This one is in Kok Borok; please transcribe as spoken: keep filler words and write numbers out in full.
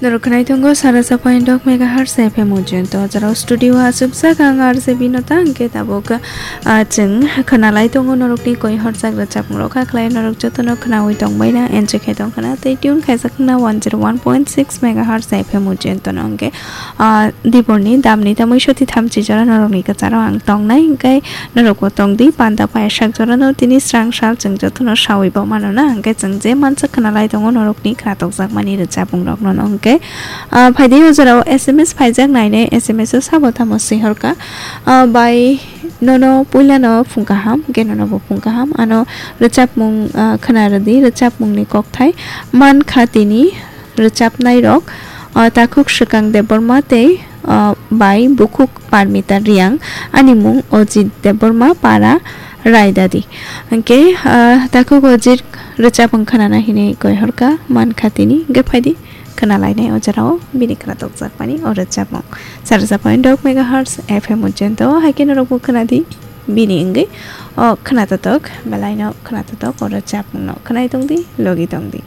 Norok khwnai tongo sara sa point dok megahertz F M Ujjayanta. O jora o studio o achukjak ang R J Binota, hwnkhe tabuk, ah, chwng khwnalai tongo norokni koi horjak rwchapmung rok, hakhlai norok jotono khwnaui tongbaina, enjoy khai tongkhwna, tei tune khaijak khwna one zero one point six megahertz F M Ujjayanta no hwnkhe, ah, diborni damni tamui soti thamchi jora norokni kwcharo ang tongnai, hwnkhe norokbo tongdi, panda paisak jorano tini srang sal chwng jotono saui bo mano na, hwnkhe chwng je mansa khwnalai tongo norokni khwnathokjakmani rwchapmungrokno no hwnkhe, ah, phaidi o jorao S M S phaijak nainai, S M S o sabo tamo swi horkha, ah, bai nono puilano phung kaham, hwnkhe nono bo phung kaham, ano rwchapmung, ah, khwna rwdi, rwchapmungni kokthai mankha tini rwchapnairok, ah, takhuk Swkang Debbarma tei, ah, bai bukhuk Parmita Riang, ani mung Ojit Debbarma, para Raidadi. Hwnkhe, ah, takhuk Ojit rwchapmung khwnana hinwi koi horkha mankha tini, hwnkhe phaidi khwnalainai o jorao bini khwnathokjakmani o rwchapmung. Sara sa point dok megahertz F M Ujjayanta o, haikhe norokbo khwnadi bini wngwi o khwnatotok, belaino khwnatotok o rwchapmungno khwnai tongdi, logi tongdi.